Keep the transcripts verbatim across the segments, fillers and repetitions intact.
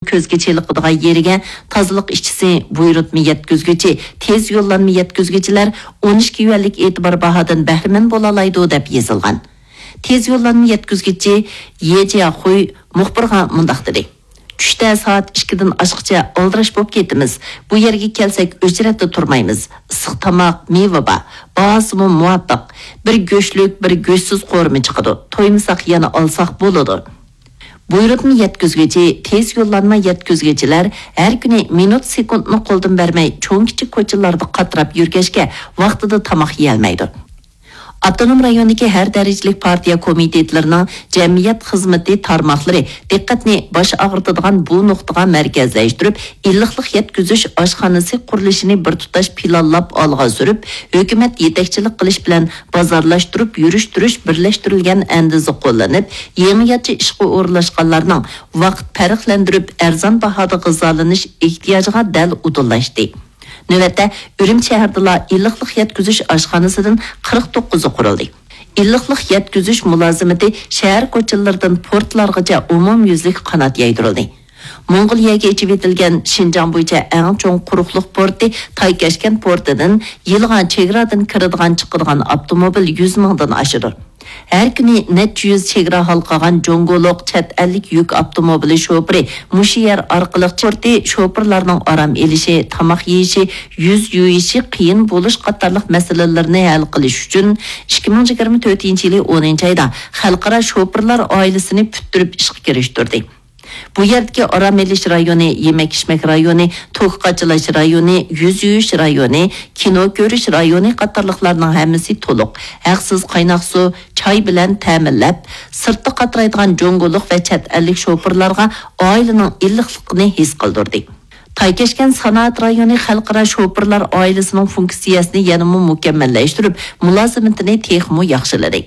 كۆزگە چېلىقىدىغان يېرىگە تازىلىق ئىشچىسى، بۇيرۇتما يەتكۈزگۈچى، تېز يوللانما يەتكۈزگۈچىلەر ئون ئىككى يۈەنلىك ئېتىبار باھادىن بەھرىمەن بولالايدۇ، دەپ يېزىلغان. تېز يوللانما يەتكۈزگۈچى يې جياخۇي مۇخبىرغا مۇنداق دېدى: چۈشتە سائەت ئىككىدىن ئاشقىچە ئالدىراش بولۇپ كېتىمىز. بۇ يەرگە كەلسەك ئۆچرەتتە تۇرمايمىز. ئىسسىق تاماق، مېۋە بار. باھاسىمۇ مۇۋاپىق. بىر گۆشلۈك، بىر گۆشسىز قورۇما چىقىدۇ. تويمىساق يەنە ئالساق بولىدۇ. بۇيرۇتما يەتكۈزگۈچى، تېز يوللانما يەتكۈزگۈچىلەر ھەر كۈنى مىنۇت سېكۇنتنى قولدىن بەرمەي، چوڭ-كىچىك كوچىلاردا قاتراپ يۈرگەچكە، ۋاقتىدا تاماق يېيەلمەيدۇ. ئاپتونوم رايوندىكى ھەر دەرىجىلىك پارتىيە كومىتېتلىرىنىڭ جەمئىيەت خىزمىتى تارماقلىرى دىققەتنى باش ئاغرىتىدىغان بۇ نۇقتىغا مەركەزلەشتۈرۈپ، ئىللىقلىق يەتكۈزۈش ئاشخانىسى قۇرۇلۇشىنى بىر تۇتاش پىلانلاپ ئالغا سۈرۈپ، ھۆكۈمەت يېتەكچىلىك قىلىش بىلەن بازارلاشتۇرۇپ يۈرۈشتۈرۈش بىرلەشتۈرۈلگەن ئەندىزە قوللىنىپ، يېڭىچە ئىشقا ئورۇنلاشقانلارنىڭ ۋاقىت پەرقلەندۈرۈپ ئەرزان باھادا غىزالىنىش ئېھتىياجىغا دەل ئۇدۇللاشتى. نۆۋەتتە ئۈرۈمچى شەھىرىدىلا ئىللىقلىق يەتكۈزۈش ئاشخانىسىدىن قىرىق توققۇزى قۇرۇلدى. ئىللىقلىق يەتكۈزۈش مۇلازىمىتى شەھەر كوچىلىرىدىن پورتلارغىچە ئومۇميۈزلۈك قانات يايدۇرۇلدى. موڭغۇلىيەگە ئېچىۋېتىلگەن شىنجاڭ بويىچە ئەڭ چوڭ قۇرۇقلۇق پورتى تايكەشكەن پورتىدىن يىلغا چېگرادىن كىرىدىغان چىقىدىغان ئاپتوموبىل يۈز مىڭدىن ئاشىدۇ. ھەر كۈنى نەچچە يۈز چېگرا ھالقىغان جۇڭگولۇق چەت ئەللىك يۈك ئاپتوموبىلى شوپۇرى مۇشۇ يەر ئارقىلىق چىقتى. شوپۇرلارنىڭ ئارام ئېلىشى، تاماق يېيىشى، يۈز يۇيۇشى قىيىن بولۇش قاتارلىق مەسىلىلىرىنى ھەل قىلىش ئۈچۈن ئىككى مىڭ يىگىرمە تۆتىنچى يىلى ئونىنچى ئايدا خەلقئارا شوپۇرلار ئائىلىسىنى پۈتتۈرۈپ ئىشقا كىرىشتۈردى. بۇ يەردىكى ئارام ئېلىش رايونى، يېمەك-ئىچمەك رايونى، توكا قاچىلاش رايونى، يۈز يۇيۇش رايونى، كىنو كۆرۈش رايونى قاتارلىقلارنىڭ ھەممىسى تولۇق، ھەقسىز قايناق سۇ، چاي بىلەن تەمىنلەپ، سىرتتا قاترايدىغان جۇڭگولۇق ۋە چەت ئەللىك شوپۇرلارغا ئائىلىنىڭ ئىللىقلىقىنى ھېس قىلدۇردى. تايكەشكەن سانائەت رايونى خەلقئارا شوپۇرلار ئائىلىسىنىڭ فۇنكسىيەسىنى يەنىمۇ مۇكەممەللەشتۈرۈپ، مۇلازىمىتىنى تېخىمۇ ياخشىلىدى.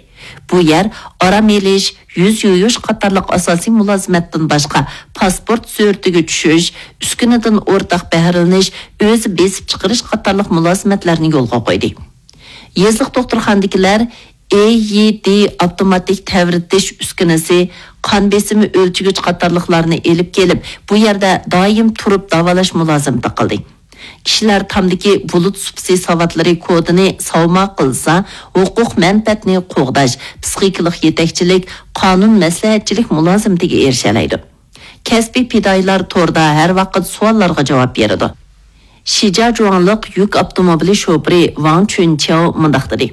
بۇ يەر ئارام ئېلىش، يۈز يۇيۇش قاتارلىق ئاساسىي مۇلازىمەتتىن باشقا، پاسپورت سۈرىتىگە چۈشۈش، ئۈسكۈنىدىن ئورتاق بەھرىلىنىش، ئۆزى بېسىپ چىقىرىش قاتارلىق مۇلازىمەتلەرنى يولغا قويدى. يېزىلىق دوختۇرخانىدىكىلەر ئېيدى ئاپتوماتىك تەۋرىتىش ئۈسكۈنىسى، قان بېسىمى ئۆلچىگۈچ قاتارلىقلارنى ئېلىپ كېلىپ، بۇ يەردە دائىم تۇرۇپ داۋالاش مۇلازىمىتى قىلدى. كىشىلەر تامدىكى بۇلۇت سۇپىسى ساۋاتلىرى كودىنى ساۋما قىلسا، ھوقۇق مەنپەئەتنى قوغداش، پسىخىكىلىق يېتەكچىلىك، قانۇن مەسلىھەتچىلىك مۇلازىمىتىگە ئېرىشەلەيدۇ. كەسپىي پىدائىيلار توردا ھەر ۋاقىت سوئاللارغا جاۋاب بېرىدۇ. شىجاجۇاڭلىق يۈك ئاپتوموبىلى شوپۇرى ۋاڭ چۈنچياۋ مۇنداق دېدى: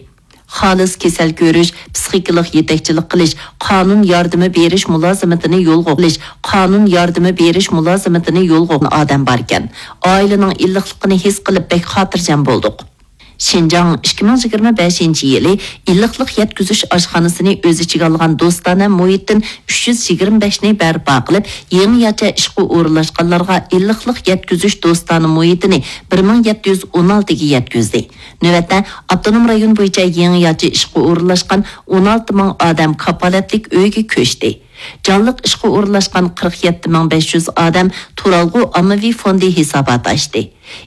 خالىس كېسەل كۆرۈش، پسىخىكىلىق يېتەكچىلىك قىلىش، قانۇن ياردىمى بېرىش مۇلازىمىتىنى يولغا قويۇش، قانۇن ياردىمى بېرىش مۇلازىمىتىنى يولغا قويغان ئادەم باركەن. ئائىلىنىڭ ئىللىقلىقىنى ھېس قىلىپ، بەك خاتىرجەم بولدۇق. شىنجاڭ ئىككى مىڭ يىگىرمە بەشىنچى يىلى ئىللىقلىق يەتكۈزۈش ئاشخانىسىنى ئۆز ئىچىگە ئالغان دوستانە مۇھىتتىن ئۈچ يۈز يىگىرمە بەشنى بەرپا قىلىپ، يېڭىچە ئىشقا ئورۇنلاشقانلارغا ئىللىقلىق يەتكۈزۈش دوستانە مۇھىتىنى بىر مىڭ يەتتە يۈز ئون ئالتىگە يەتكۈزدى. نۆۋەتتە ئاپتونوم رايون بويىچە يېڭىچە ئىشقا ئورۇنلاشقان ئون ئالتە مىڭ ئادەم كاپالەتلىك ئۆيگە كۆچتى. جانلىق ئىشقا ئورۇنلاشقان قىرىق يەتتە مىڭ بەش يۈز ئادەم تۇرالغۇ ئاممىۋى فوندى ھېساباتى ئاچتى.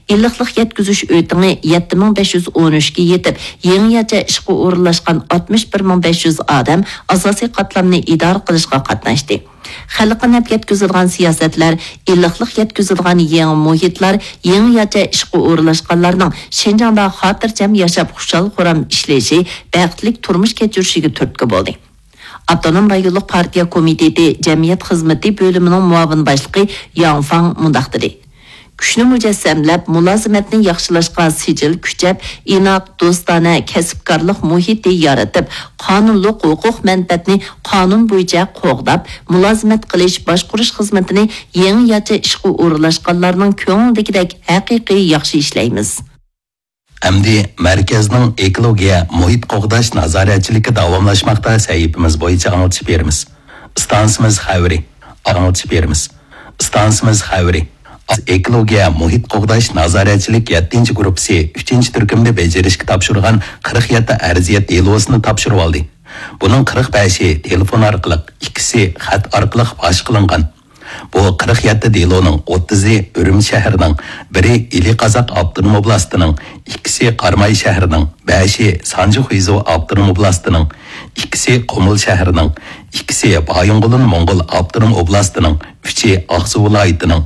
ئىللىقلىق يەتكۈزۈش ئۆتىڭى يەتتە مىڭ بەش يۈز ئون ئۈچكە يېتىپ، يېڭىچە ئىشقا ئورۇنلاشقان ئاتمىش بىر مىڭ بەش يۈز ئادەم ئاساسىي قاتلامنى ئىدارە قىلىشقا قاتناشتى. خەلققە نەپ يەتكۈزىدىغان سىياسەتلەر، ئىللىقلىق يەتكۈزىدىغان يېڭى مۇھىتلار، يېڭىچە ئىشقا ئورۇنلاشقانلارنىڭ شىنجاڭدا خاتىرجەم ياشاپ، خۇشال-خۇرام ئىشلىشى، بەختلىك تۇرمۇش كەچۈرۈشىگە تۈرتكە بولدى. ئاپتونوم رايونلۇق پارتىيە كومىتېتى جەمئىيەت خىزمىتى بۆلۈمىنىڭ مۇئاۋىن باشلىقى ياڭ فاڭ مۇنداق دېدى: كۈچنى مۇجەسسەملەپ، مۇلازىمەتنى ياخشىلاشقا سىجىل كۈچەپ، ئىناق، دوستانە، كەسىپكارلىق مۇھىتى يارىتىپ، قانۇنلۇق ھوقۇق مەنپەئەتنى قانۇن بويىچە قوغداپ، مۇلازىمەت قىلىش، باشقۇرۇش خىزمىتىنى يېڭىچە ئىشقا ئورۇنلاشقانلارنىڭ كۆڭلىدىكىدەك ھەقىقىي ياخشى ئىشلەيمىز. ئەمدى مەركەزنىڭ ئېكولوگىيە مۇھىت قوغداش نازارەتچىلىكى داۋاملاشماقتا سەھىپىمىز بويىچە ئاڭلىتىش بېرىمىز. ئىستانسىمىز خەۋىرى. ئاڭلىتىش بېرىمىز. ئىستانسىمىز خەۋىرى. ئېكولوگىيە مۇھىت قوغداش نازارەتچىلىك يەتتىنچى گۇرۇپپىسى ئۈچىنچى تۈركۈمدە بېجىرىشكە تاپشۇرغان قىرىق يەتتە ئەرزىيەت دېلوسىنى تاپشۇرۇۋالدى. بۇنىڭ قىرىق بەشى تېلېفون ئارقىلىق، ئىككىسى خەت ئارقىلىق پاش قىلىنغان. بۇ قىرىق يەتتە دېلونىڭ ئوتتۇزى ئۈرۈمچى شەھىرىنىڭ، بىرى ئىلى قازاق ئاپتونوم ئوبلاستىنىڭ، ئىككىسى قاراماي شەھىرىنىڭ، بەشى سانجى خۇيزۇ ئاپتونوم ئوبلاستىنىڭ، ئىككىسى قۇمۇل شەھىرىنىڭ، ئىككىسى بايىنغولىن موڭغۇل ئاپتونوم ئوبلاستىنىڭ، ئۈچى ئاقسۇ ۋىلايىتىنىڭ،